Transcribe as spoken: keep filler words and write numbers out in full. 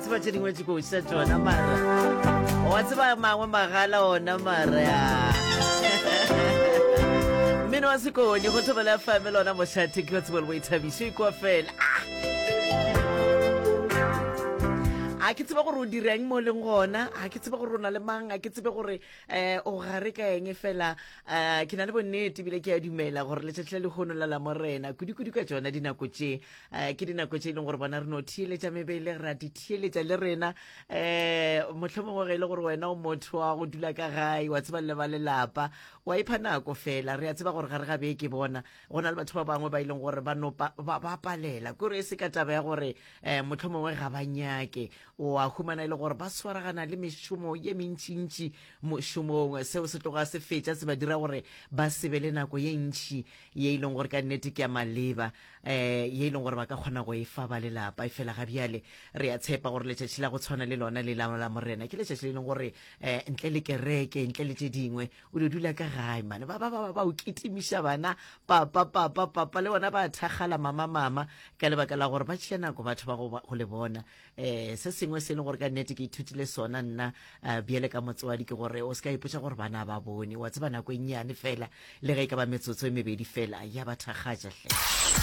Tseba tše dingwe tše koša tšona, mara wa tseba mangwe magala ona mara ya mmino wa sekoni go Thobela F M lona mošate ke wa tsebo le boithabišo ikwa fela. A ke tsebe gore o direng mo leng gona, a ke tsebe gore o na le mang, a ke tsebe gore um o gare ka eng fela. um ke na le bonnete ebile ke a dumela gore letšatši la lehono la Lamorena, kudu-kudu ka tšona dinako tše, um ke dinako tše e leng gore bona re no theeletša mebele, ra di theeletša le rena. um mohlomongwe ge e le gore wena o motho wa go dula ka gae, wa tseba le ba lelapa, wa ipha nako fela. Re a tseba gore gare ga beke bona go na le batho ba bangwe ba e leng gore ba no ba ba palela kore e se ka taba ya gore um mohlomongwe ga ba nyake, o a humana e le gore ba swaragana le mešomo ye mentšintši mošomong. Seo se tloga se fetša se ba dira gore ba se be le nako ye ntšhi ye e leng gore ka nnete ke ya maleba, um ye e leng gore ba ka kgona go e fa ba lelapa. E fela ga bjale re a tshepa gore letšatši la go tshwana le lona le la Lamorena ke letšatši le leng gore um ntle le kereke, ntle le tše dingwe, o di dula ka gae mane, ba ba ba ba o kitimiša bana, papa, papa, papa, le bona ba thakgala, mama, mama, ka lebaka la gore ba tšea nako batho ba go go le bona. um se sengwe se e leng gore ka nnete ke ithutile sona nna uh, bjale ka motswadi ke gore o se ka ipotša gore bana ba bone. Wa tseba nako e nnyane fela, le ge e ka ba metsotso e mebedi fela, ya ba thakgatša hle.